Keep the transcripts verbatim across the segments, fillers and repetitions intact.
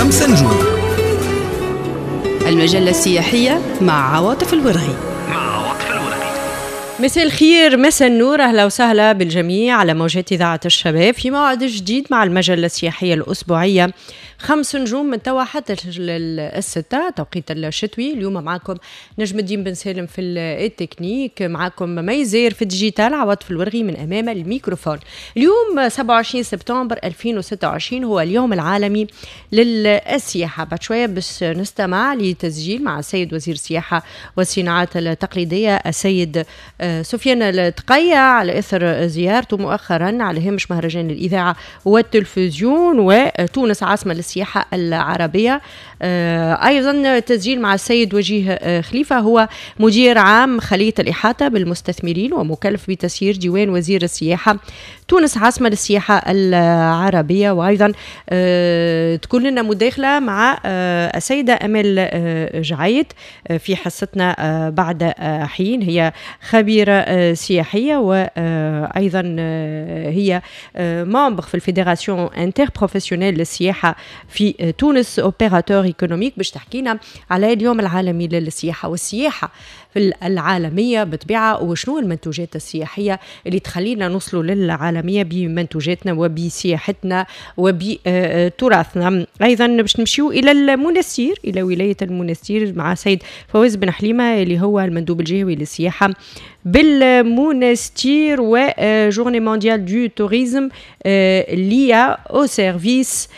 خمسة نجوم. المجلة السياحية مع عواطف الورغي. مساء الخير، مساء النور، اهلا وسهلا بالجميع على موجات اذاعة الشباب في موعد جديد مع المجلة السياحية الاسبوعية خمس نجوم من توا حتى الستة توقيت الشتوي. اليوم معكم نجم الدين بن سالم في التكنيك، معكم ميزير في ال digital، عواطف الورغي من امام الميكروفون. اليوم سبعة وعشرين سبتمبر ألفين وستة وعشرين هو اليوم العالمي للسياحة. بعد شوية باش نستمع لتسجيل مع السيد وزير السياحة والصناعات التقليدية السيد سفيان التقية على اثر زيارته مؤخرا على هامش مهرجان الاذاعة والتلفزيون وتونس عاصمة للسياحة العربية. أيضا تسجيل مع السيد وجيه خليفة، هو مدير عام خلية الإحاطة بالمستثمرين ومكلف بتسيير ديوان وزير السياحة تونس عاصمة للسياحة العربية. وأيضا تكون لنا مداخلة مع السيدة أمال جعيد في حصتنا بعد حين، هي خبيرة سياحية وأيضا هي membre في ال fédération interprofessionnelle للسياحة في تونس، opérateur économique، باش تحكينا على اليوم العالمي للسياحة والسياحة في العالمية بطبيعة، وشنو المنتوجات السياحية اللي تخلينا نوصلوا للعالمية بمنتوجاتنا وبسياحتنا وبتراثنا. أيضا باش نمشيو إلى المنستير، إلى ولاية المنستير مع سيد فواز بن حليمة اللي هو المندوب الجهوي للسياحة بالمونستير و journée mondiale du tourisme l'I A au service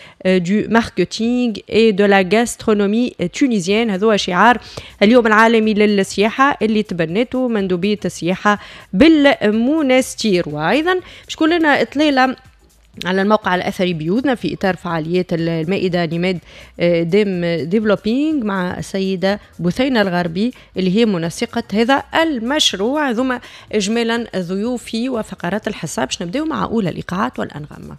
du marketing et de la gastronomie tunisienne. هذا هو شعار اليوم العالمي للسياحة اللي تبنته مندوبية السياحة بالمونستير. وأيضا باش تكون لنا إطلالة على الموقع الأثري بيوتنا في إطار فعاليات المائدة نماد ديم developing مع السيدة بثينة الغربي اللي هي منسقة هذا المشروع. ثم إجمالا ضيوفي وفقرات الحصة باش نبداو مع أولى الإيقاعات والأنغام.